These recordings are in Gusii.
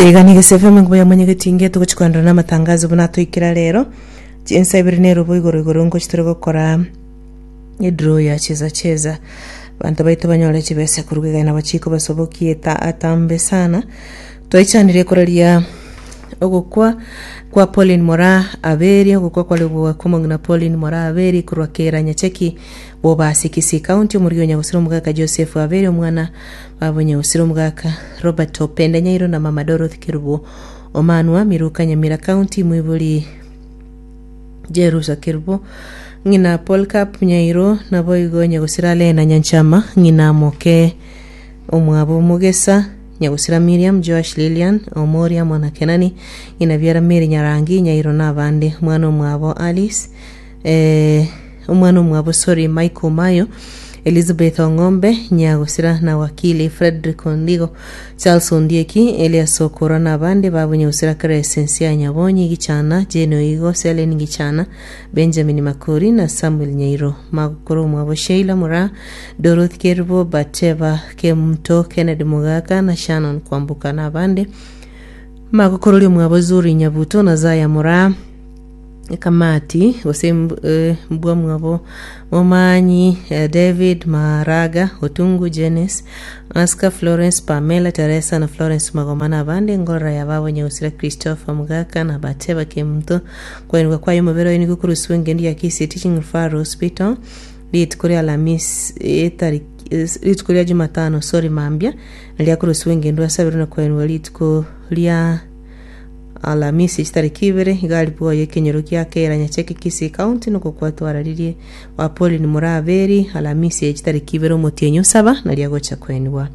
Iga nigo SFM enkuba ya mwanyagetinge togochi koenderera na amatangazo buna atoikera rero chinsa ibere na erobo igoro igoro ngochi tore gokora edraw ya cheza cheza banto baito banyore chibesa korwa iga nabo chikobasobokia eta atambe sana twaichanire koraria ogokwa kwa Pauline Moraa Aberi ogokwa kware gwa kw'omong'ina Pauline Moraa Aberi korwa Kera Nyacheki Bobasi Kisii County omorwio o Nyagusira omogaka Joseph Aberi omwana Babo Nyagusira omogaka Robert Opende Nyairo na mama Dorothy Kerubo Omanwa Miruka Nyamira County Mwibori Jerusa Kerubo ng'ina Polycarp Nyairo naboigo Nyagusira Lena Nyanchama ng'ina moke omwabo Mogesa Nyagusira Miriam Joash Lilian Omoria mwana Kenani ng'ina biara Mary Nyarangi Nyairo na abande omwana omwabo Alice eh, omwana omwabo sorry Michael Mayo Elizabeth Ong'ombe Nyagosira na Wakili Fredrick Ondigo Charles Ondieki Elias Okoro na abande babo Nyagosira Crescencia Nyabonyi Gichana Jane Oigo Selen Gichana Benjamin Makori na Samuel Nyairo Magokoro omwabo Sheila Moraa Dorothy Kerubo Bateba Kemunto Kennedy Mogaka na Shannon Kwamboka na abande Magokororia omwabo Zuri Nyabuto na Zaya Moraa Ekamati, gose mbwa mwabo Momanyi, David Maraga, Otungu Jenis, Oscar Florence, Pamela Teresa na Florence Magoma na abande engorora ya babo Nyagusira Christopher Mugaka na Bateba Kemunto kwenigwa kwaye omobere oye nigo okorusiwa engendu ya Kisii Teaching Referral Hospital rituko ria Alhamisi etariki rituko ria Jumatano sorry mambia naria akorusiwa engendu asabirwe na kwenigwa rituko ria Alamisi chitariki ibere iga aribwoye ekenyoro gia Kera Nyacheke Kisii County nogokwatwararirie gwa Pauline Muraberi Alamisi eye chitariki ibere omotienyi osaba naria agocha kwenigwa.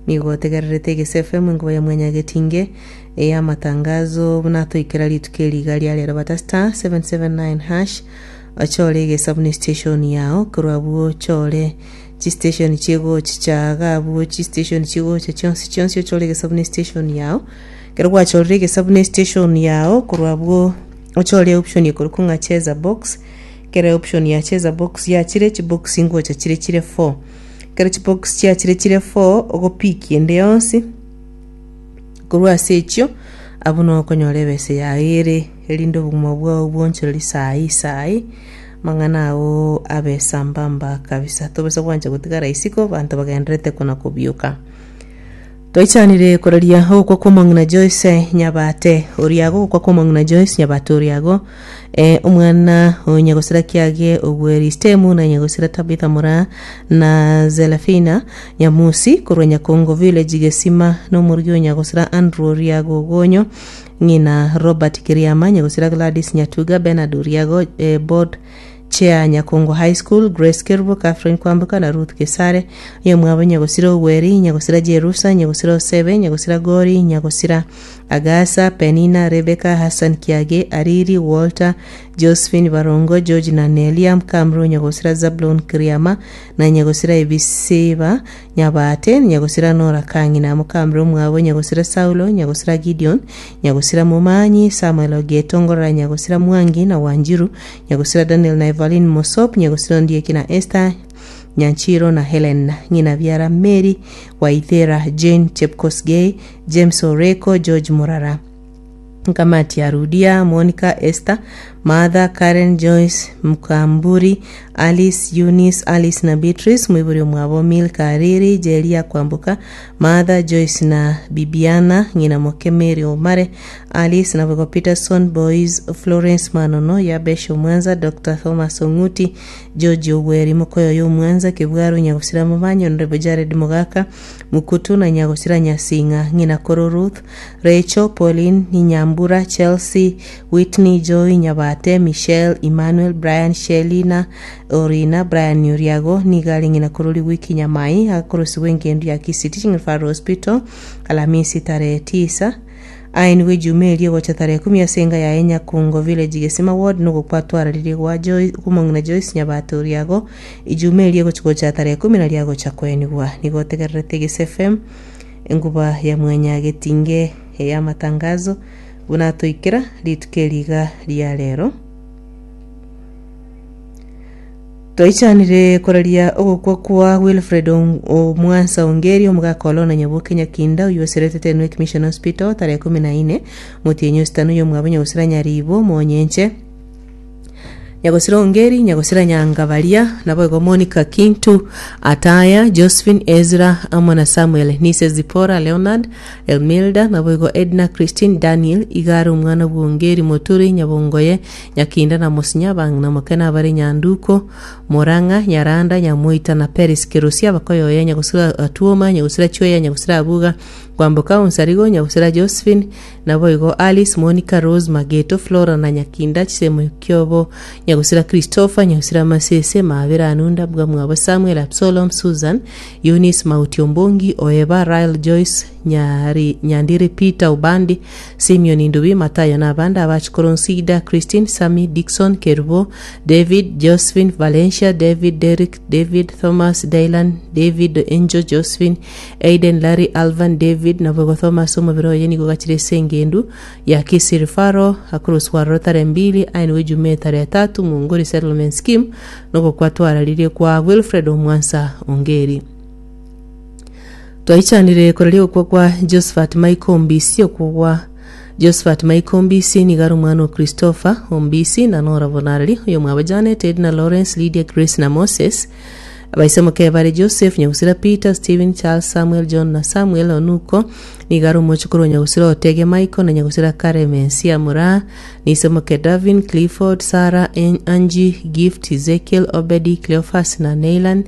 Nigo otegererete Egese FM enkuba ya Mwanyagetinge eye amatangazo buna atoikera rituko eri iga ria rero bata star 779 hash ochore egesabu ne station yao korwa abwo ochore chistation chigochicha iga abwo chistation chigocha chionsi chionsi ochore egesabu ne station yao Ekero gwachorire egesabu ne station yao korwa abwo ochore option ekorokwa ng'a cheza box ekero option ya cheza box yachire chibox ngocha chire chire four ekero chibox chiachire chire four ogopikia ende yonsi korwa ase echio abwo noo okonyora ebesa yao ere erinde obogima bwao bwoonchoreri saii saii amang'ana ao abe sambamba kabisa tobasa gwancha gotigara isiko abanto bagendererete kona kobioka. Twaichanire koraria ogokwa kw'omong'ina Joyce Nyabate Oriago ogokwa kw'omong'ina Joyce Nyabate Oriago eh, omwana o Nyagosira Kiage Ogweri Stemu na Nyagosira Tabitha Moraa na Zelafina Nyamusi korwa Nyakongo Village Gesima na omorugi o Nyagosira Andrew Oriago Ogonyo ng'ina Robert Kiriama Nyagosira Gladys Nyatuga Bernard Oriago eh, board Chair Nyakongo High School, Grace Kerubo, Catherine Kwamboka na Ruth Gesare, oyomwabo Nyagosira Ogweri, Nyagosira Jerusa, Nyagosira Osebe, Nyagosira Gori, Nyagosira Agasa, Penina, Rebecca, Hassan Kiage, Ariri, Walter, Josephine Barongo, George na Nelia, Mkamru, Nyagosira Zablon Kiriama, na Nyagosira Ebisiba Nyabate, Nyagosira Nora Kang'ina, Mokamru omwabo Nyagosira Saulo, Nyagosira Gideon, Nyagosira Momanyi, Samuel Ogeto, Ngorora Nyagosira Mwangi na Wanjiru, Nyagosira Daniel na Evaline Mosop, Nyagosira Ondieki na Esther, Nyanchiro na Helen, ng'ina biara Mary Waithera, Jane Chepkosgei, James Oreko, George Murara, Nkamati ya Rudia, Monica, Esther, Martha, Karen, Joyce, Mkamburi, Alice, Eunice, Alice na Beatrice, moibori omwabo Milka Ariri, Jeria Kwamboka, Martha, Joyce na Bibiana, ng'ina moke Mary Omare, Alice naboigo Peterson, Boyz, Florence Manono, Yabesh Omwanza, Doctor Thomas Ong'uti, George Ogweri, Mokoyoyo Omwanza, Kebwaro Nyagosira Momanyi, Honorable Jared Mogaka, Mukutu na Nyagosira Nyasing'a, Ng'ina Koro Ruth, Rachel, Pauline, Nyambura, Chelsea, Whitney, Joy, Nyabate, Michelle, Emmanuel, Brian, Shelly na Orina, Brian Oriago, nigo are ng'ina koro Rigwiki Nyamai, agakorosigwa engendu ya Kisii Teaching Referral Hospital, Alamisi tarehe tisa. Aye nigo ejuma eria egocha tarehe ikomi ase enga yaye Nyakungo Village Gesima Ward nigo kwatwararirie gwa Joyce kw'omong'ina Joyce Nyabate Oriago ejuma eria egochi gocha tarehe ikomi naria agocha koenigwa. Nigo otegererete Gese FM enguba ya mwanyagetinge ey'amatangazo buna atoikera rituko eri iga ria rero. Twaichanire koraria ogokwa kwa Wilfred Omwansa Ongeri, omogaka o Lona Nyaboke Nyakinda, oyio oserete Tenwek Mission Hospital tarehe ikomi na ine, motienyi ositano oyomwabo Nyagosira Nyaribo, Monyenche, Nyagosira Ongeri, Nyagosira Nyangabaria, naboigo Monica Kintu, Ataya, Josephine, Ezra, amo na Samuel, Nise Zipporah, Leonard, Elmilda, naboigo Edna, Christine, Daniel, iga are omwana bw'Ongeri, Moturi, Nyabongoye, Nyakinda na Mosinya, abang'ina moke nabare Nyanduko, Morang'a, Nyaranda, Nyamoita na Peris Kerosia, abakoyoya, Nyagosira Atuoma, Nyagosira Chweya, Nyagosira Abuga, Kwamboka Onsarigo, Nyagosira Josephine, Naboigo Alice, Monica, Rose, Mageto, Flora na Nyakinda, chisemo kiobo, Nyagosira Christopher, Nyagosira Masese, Maabera Anunda, Bwamwabo Samuel, Absolom, Susan, Eunice, Mauti Ombongi, Oeba, Rael, Joyce, Nyari, Nyandiri, Peter, Obandi, Simeon Ndubi, Matayo na abande abachikoro Nsida, Christine, Sammy, Dickson, Kerubo, David, Josephine, Valencia, David, Derrick, David, Thomas, Dylan, David, Angel, Josephine, Aiden, Larry, Alvan, David, naboigo Thomas omobere oye nigo ogachire ase engendu ya Kisii Referral akoroswa aroro tarehe mbili aenigwe Ijumaa tarehe tatu Munguri Settlement Scheme nogokwa twararirie kwa Wilfred Omwansa Ongeri. Twaichanire koraria ogokwa kwa Josephat Michael Ombisi okwo gwa Josephat Michael Ombisi nigo are omwana o Christopher Ombisi na Nora Bonareri oyomwabo Janet, Edna, Lawrence, Lydia, Grace na Moses. Abaise moke bare Joseph, nyagusira Peter, Stephen, Charles, Samuel, John na Samuel Onuko, nigo are omochokoro o nyagusira Otege Michael na nyagusira Karemensia Moraa, na ise moke Davin, Clifford, Sarah, Angie, Gift, Ezekiel, Obedi, Cleophas na Neylan,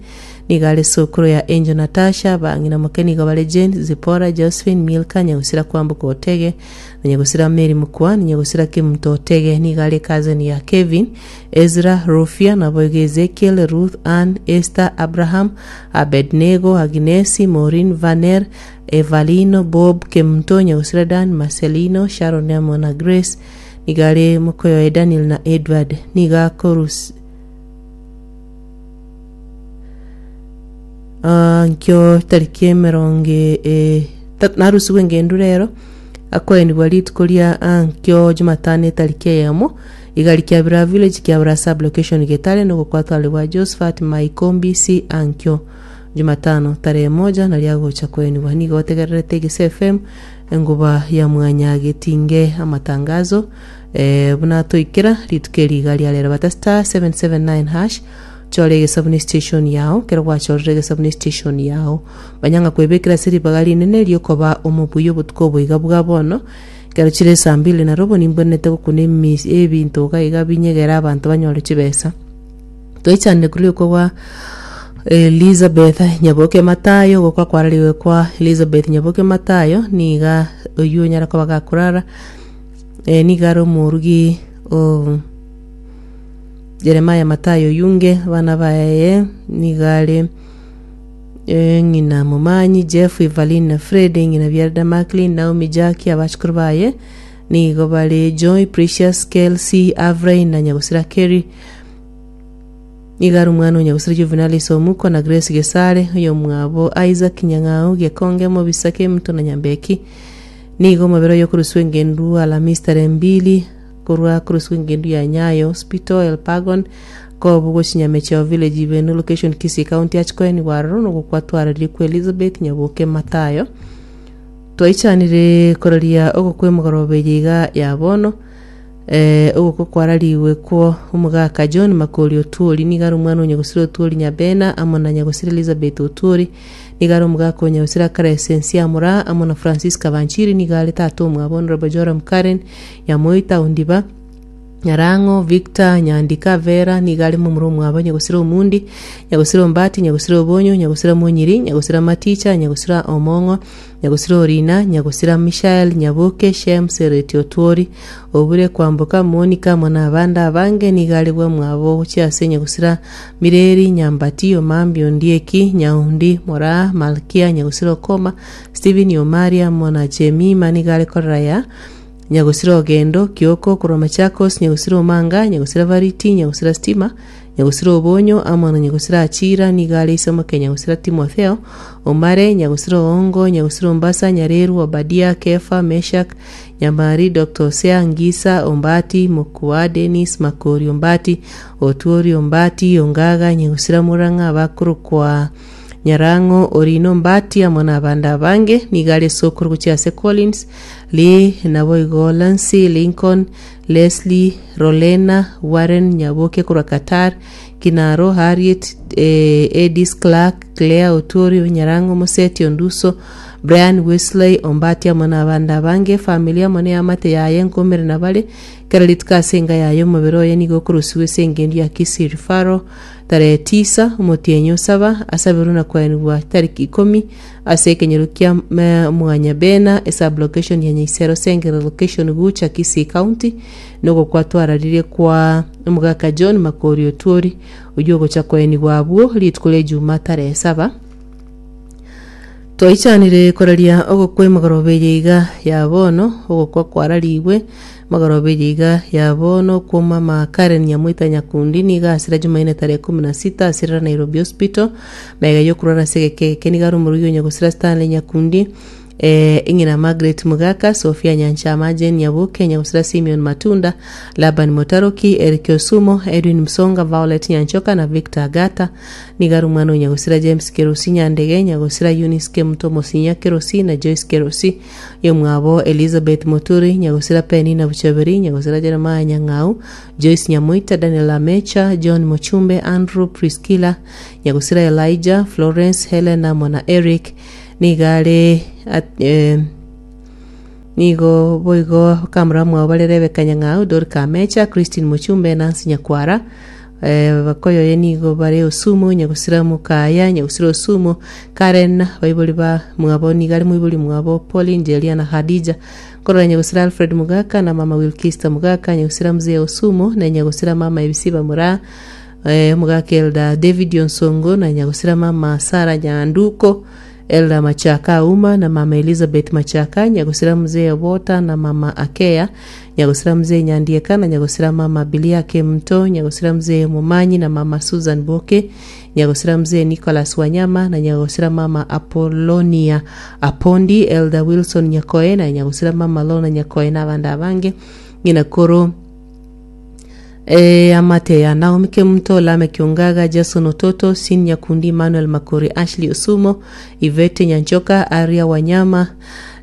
nigo are sokoro ya Angel Natasha, bang'ina moke nigo bare Jane, Zipporah, Josephine, Milka, nyagusira Kwamboka Otege, na nyagusira Mary Mokua, na nyagusira Kemunto Otege, nigo are cousin ya Kevin, Ezra, Rufia, naboigo Ezekiel, Ruth, Ann, Esther, Abraham, Abednego, Agnesi, Maureen, Vaner, Evalino, Bob, Kemunto, Nyagusira Dan, Marcelino, Sharon amo na Grace, nigo are mokoyoye Daniel na Edward. Nigo akorus Ah, nkio tariki emerongo e- ta- narusigwe engendu rero akoenigwa rituko ria ah, nkio jumatano etariki eyemo Igari Kiabira Village, Kiabira Sub-location Getare nogokwatware gwa Josephat Maiko Mbisi ankio Jumatano tarehe moja nario agocha koenigwa. Nigo otegererete Egese FM engoba ya mwanyagetinge amatangazo eh, buna toikera rituko eri iga ria rero bata star 779 hash chore egesabuni station yao kero gwachorire egesabuni station yao manya ng'a kwebekera ase ribaga rinene riokoba omobuya obotuko obo iga bwa bono Ekero chire saa mbili na robo nimbwenerete gokuna emis ebinto iga iga binyegere abanto banyore chibesa. Twaichanire korwa rioka gwa Elizabeth Nyaboke Matayo, ogokwa kwarariwe kwa Elizabeth Nyaboke Matayo, niga oyio onyare koba gakorara, niga are omorugi o Jeremiah Matayo Oyunge, abana baye niga are. Ng'ina Momanyi, Jeff, Evaline na Fred, ng'ina biarda Macklin, Naomi, Jackie, abachukuru baye nigo bare Joy, Precious, Kelsey, Avrain na nyagosira Kerry. Nigo are omwana o nyagosira Juvenalis Omuko na Grace Gesare, oyomwabo Isaac Nyang'au, Gekonge, Mobisa, Kemuto na Nyambeki. Nigo omobere oye okoruswa engendu Alhamisi tarehe mbili Korwa koroswa engendu ya Nyayo Hospital, Elpagon, Kobu gochia Nyamecheo Village Ibeno Location Kisii County Achikoenigwa aroro nogokwa twararie kwa Elizabeth Nyaboke Mathayo Twaichanire koraria ogokwa emogoroba eye iga ya bono eh, ogokwa kwarariwe kwo omogaka John Makori Otuori nigo are omwana o Nyagosira Otuori Nyabena amo na Nyagosira Elizabeth Otuori nigo are omogaka o Nyagosira Crescence Amura amo na Francisca Banchiri nigo are tata omwabo Honourable Joram Karen Nyamoita, Ondiba, Nyarang'o, Victor, Nyandika, Vera, nigo are momura omwabo, Nyagosira Omundi, Nyagosira Ombati, Nyagosira Obonyo, Nyagosira Monyiri, Nyagosira Maticha, Nyagosira Omong'o, Nyagosira Orina, Nyagosira Mishael, Nyaboke, Shem, Sereti Otwori, Obure, Kwamboka, Monica, amo nabande abange, nigo are bwamwabo gochia ase Nyagosira Mireri, Nyambati, Omambi, Ondieki, Nyaundi, Moraa, Malkia, Nyagosira Okoma, Stephen, Omari, amo na Jemima, nigo are korera ya Nyagosira Ogendo, Kioko, korwa Machakos, Nyagosira Omanga, Nyagosira Variti, Nyagosira Stima, Nyagusira Obonyo, amo na Nyagusira Achira, nigo are ise omoke Nyagusira Timotheo, Omare, Nyagusira Oongo, Nyagusira Ombasa, Nyareru, Obadia, Kefa, Meshak, Nyamari, Doctor Hosea, Ngisa, Ombati, Mokua, Denis, Makori, Ombati, Otuori, Ombati, Ongaga, Nyagusira Murang'a, abakorokwa Nyarang'o, Orino, Ombati, amo nabande abange. Nigo are esokoro gochia ase Collins, Lee, naboigo Lancy, Lincoln, Leslie, Rolena, Warren, Nyaboke korwa Qatar, Kinaro, Harriet, Edis, Clark, Claire, Otuori, Nyarang'o, Moseti, Onduso, Brian, Wesley, Ombati amo nabande abange. Efamiri amo neamate yaye nkomerana bare kera rituko ase enka yaye omobere oye nigo okorusigwa ase engencho ya Kisii Referral tarehe tisa omotienyi o saba asaberwe na koenigwa tariki ikomi ase ekenyoro kia Mwanyabena esub-location ya Nyaisero Sengere location Gucha Kisii County nogokwa twararirie kwa omogaka John Makori Otuori oyio ogocha koenigwa abwo rituko ria Ijumaa tarehe saba. Twaichanire koraria ogokwa emegoroba eye iga ya bono, ogokwa kwararigwe emegoroba eye iga ya bono kw'omama Karen Nyamwita Nyakundi nigo asira Jumaine tarehe kumi na sita asirera Nairobi Hospital magega yokorwara ase egeka egeke nigo are omorugi o nyagosira Stanley Nyakundi eh, eng'ina Margaret Mugaka, Sophia Nyanchama, Jane Nyaboke, nyagosira Simeon Matunda, Laban Motaroki, Eric Osumo, Edwin Msonga, Violet Nyanchoka na Victor Agata. Nigo are omwana o nyagosira James Kerosi Nyandege, nyagosira Eunice Kemuto Mosinya Kerosi na Joyce Kerosi, oyomwabo Elizabeth Moturi, nyagosira Penina Buchaberi, nyagosira Jeremiah Nyang'au, Joyce Nyamoita, Daniel Amecha, John Mochumbe, Andrew Priscilla, nyagosira Elijah, Florence, Helen amo na Eric. Nigo are at- eh, nigo boigo bakamura mwabo bare Rebecca Nyang'au, Dorika Amecha, Christine Mochumbe, Nancy Nyakwara, eh, bakoyoye nigo bare Osumo, Nyagusira Mokaya, Nyagusira Osumo, Karen, baibori ba mwabo nigo are moibori mwabo Pauline, Jelia na Khadija. Nkorora Nyagusira Alfred Mugaka na mama Wilkista Mugaka, Nyagusira Mzee Osumo na Nyagusira mama Ebisiba Muraa, eh, omogaka Elder David Onsongo na Nyagusira mama Sarah Nyanduko, Elder Machaka Auma na mama Elizabeth Machaka, Nyagusira Mzee Obota na mama Akea, Nyagusira Mzee Nyandieka na Nyagusira mama Biliake Mto, Nyagusira Mzee Momanyi na mama Susan Boke, Nyagusira Mzee Nicholas Wanyama na Nyagusira mama Apollonia Apondi, Elder Wilson Nyakoe na Nyagusira mama Lorna Nyakoe na abande abange. Ng'ina koro Eamate ya Naomi Kemunto, Lameck Ongaga, Jason Ototo, Sin Nyakundi, Emmanuel Makori, Ashley Osumo, Yvette Nyanchoka, Aria Wanyama,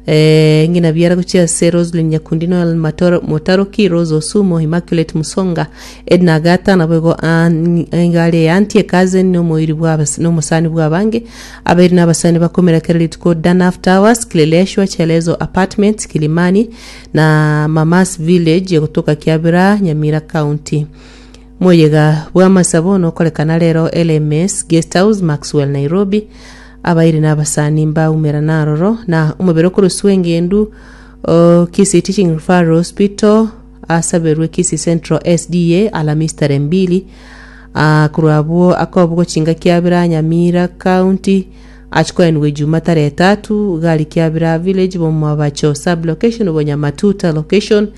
eh, ng'ina biara gochia ase Roslyn Nyakundi, Noel Matoro, Motaroki, Rose Osumo, Immaculate Musonga, Edna Agata, naboigo an- engare ya auntie cousin nomoiri bwa abas- nomosani bw'abange abairi na abasani bakomera kera rituko Danaf Towers, Kileleshwa, Chelezo Apartments, Kilimani, na Mamas Village egotoka Kiabira, Nyamira County. Moyega bw'amasabo nokorekana rero LMS Guest House, Maxwell, Nairobi. Abairi na abasani mbaumerana aroro na omobere okoroswa engendu o Kisii Teaching Referral Hospital asaberwe Kisii Central SDA Alhamisi tarehe mbili. Ah, korwa abwo akobogo chinga Kiabira, Nyamira County Achia koenigwa Ijuma tarehe tatu, gari Kiabira village Bomoabacho sub location Bonyamatuta location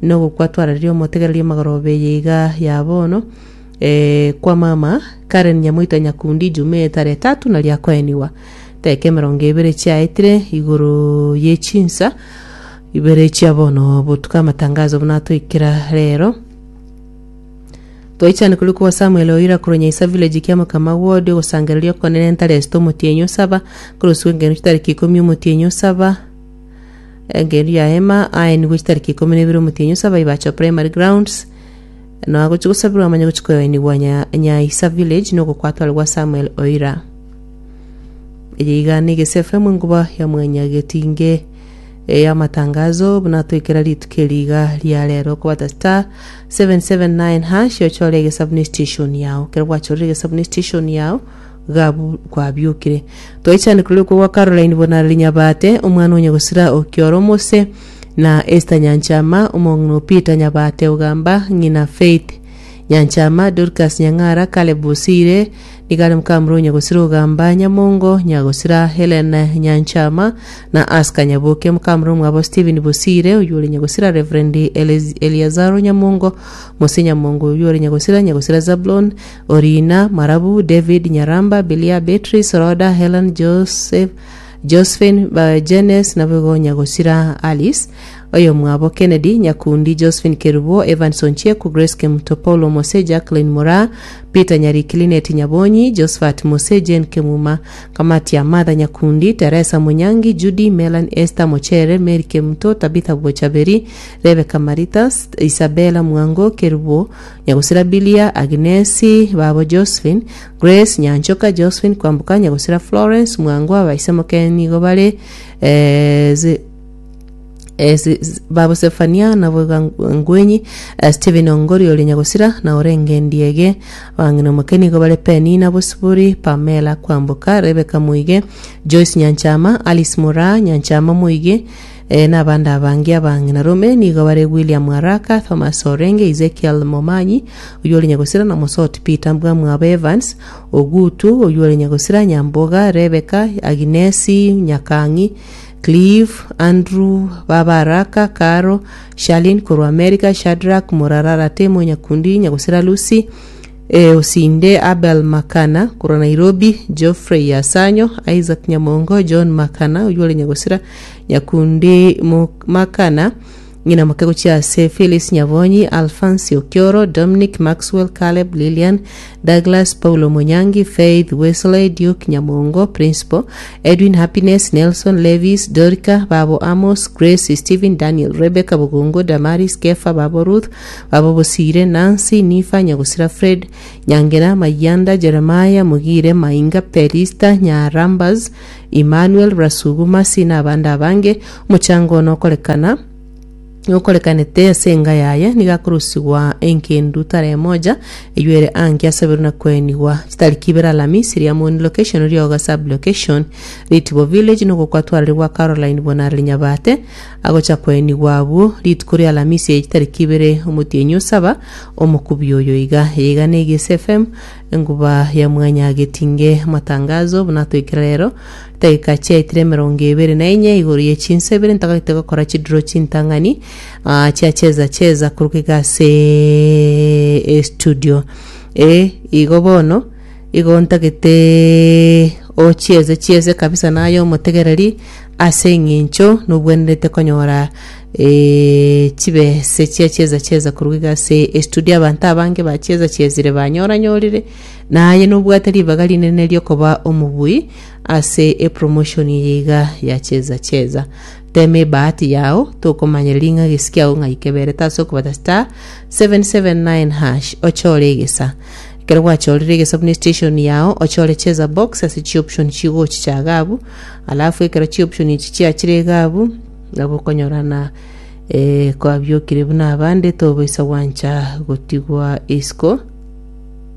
nogokwa twarareria omotegereria omagoroba eye iga ya bono eh, kwa mama Karen Nyamoita Nyakundi Ijuma eye tarehe tatu nario akoenigwa dakika emerongo ebere chiaetire igoro ye chinsa ibere chia bono botuko amatangazo buna atoikera rero. Twaichane korwa kwa Samuel oira korwa Nyaisa village kiamokama ward ogosangereria okonene ntare esita omotienyi osaba koroswa engenu chitariki ikomi omotienyi osaba engenu ya hema aenigwe chitariki ikomi na ibere omotienyi osaba Ibacho primary grounds no agochi gosabirwa amanye gochi koenigwa nya Nyaisa village nogokwatware gwa Samuel Oira eye iga ne Egese FM enkuba ya mwanyagetinge Ey'amatangazo buna toikera rituko eri iga ria rero okobata star 779 hash ochore egesabu ne station yao kero gwachorire egesabu ne station yao gabu kwabiokire twaichane korwa okwo gwa Caroline Bonareri Nyabate omwana onye gosira okioro omose na Esther Nyanchama omong'ina o Peter Nyabate ogamba ng'ina Faith. Nyanchama, Dorcas Nyang'ara, Caleb Bosire, nigo are mokamura o Nyagosira Ogamba Nyamongo, Nyagosira Helen Nyanchama, na Aska Nyaboke, mokamura omwabo Stephen Bosire, oyio ore Nyagosira Reverend Eliazaro Nyamongo, Mose Nyamongo, oyio ore Nyagosira, Nyagosira Zablon, Orina, Marabu, David Nyaramba, Bilia, Beatrice, Rhoda, Helen, Joseph, Josephine, Jenes, naboigo Nyagosira Alice, oyomwabo Kennedy, Nyakundi, Josephine Kerubo, Evans Onchieku, Grace Kemuto, Paulo Mose, Jacqueline Moraa, Peter Nyariki, Linet Nyabonyi, Josephat Mose, Jane Kemuma, Kamatia, Martha Nyakundi, Teresa Munyangi, Judy, Melan, Esther Mochere, Mary Kemuto, Tabitha Bochaberi, Rebecca Marita, Isabella Mwango, Kerubo, Nyagosira Bilia, Agnesi, babo Josephine, Grace, Nyanchoka, Josephine, Kwamboka, Nyagosira Florence, Mwango, abaise moke nigo bare eh, zi- eh, zi- zi- babo Sefania nabo iga Ngwenyi, eh, Stephen Ongori ore Nyagosira na orenge Ndiege, abang'ina moke nigo bare Penina Bosibori, Pamela Kwamboka, Rebecca Moige, Joyce Nyanchama, Alice Moraa, Nyanchama Moige, Eh, nabande abange abang'ina rome nigo bare William Araka, Thomas Orenge, Ezekiel Momanyi, oyio ore nyagosira, na Mosoti Peter Mbwamwabo Evans, Ogutu, oyio ore nyagosira, Nyamboga, Rebecca, Aginesi, Nyakang'i, Clive, Andrew, Baba Araka, Caro, Charlene korwa America, Shadrack, Morarara Temo, Nyakundi, Nyagosira Lucy, eh, Osinde, Abel Makana korwa Nairobi, Geoffrey Asanyo, Isaac Nyamongo, John Makana, oyio ore nyagosira, Nyakundi Makana, ng'ina moke gochia ase Phyllis Nyabonyi, Alphansi Okioro, Dominic, Maxwell, Caleb, Lilian, Douglas, Paulo Monyangi, Faith, Wesley, Duke, Nyamongo, Principal, Edwin, Happiness, Nelson, Levis, Dorika, Babo Amos, Grace, Stephen, Daniel, Rebecca, Bogongo, Damaris, Kefa, Babo Ruth, Babo Bosire, Nancy, Nifa, Nyagosira, Fred, Nyangena, Mayanda, Jeremiah, Mugire, Mainga, Pelista, Nyarambas, Emmanuel, Rasugu, Mercy, na abande abange. Omochango one okorekana nokorekanete ase enga yaye nigo akorusigwa enkendu tarehe moja eywo ere ange asaberwe na koenigwa chitariki ibere Alamisi Riamoni location Rioga sub location Ritibo village nogokwatwarire gwa Caroline Bonareri Nyabate agocha koenigwa abwo rituko ria Alamisi eye chitariki ibere omotienyi osaba omokubi oyo iga eye iga ne Egesa FM Enguba ya mwanyagetinge amatangazo buna toikera rero Dakika chiaetire emerongo ebere na enye igoro ye chinsa ibere ntagete gokora chidraw chintang'ani ah, chia cheza cheza koruga iga ase estudio eh, igo bono igo ntagete ochieze chieze kabisa naye omotegereri ase eng'encho nobwenerete konyora eh, chibese chia cheza cheza koruga iga ase estudio abanto abange bachieza chiezire banyoranyorire Naye nobwate ribaga rinene riokoba omobui ase epromotion eye iga ya cheza cheza. Tema ebahati yao tokomanyereria ng'a gesi kiao ng'ai keberete ase okobata star 779 hash ochore egesa. Ekero gwachorire egesa buna estation yao ochore cheza box ase chioption chigochicha iga abwo alafu ekero chioption echi chiachire iga abwo nabo okonyorana eh, kwabiokire buna abande tobaisa gwancha gotigwa isiko.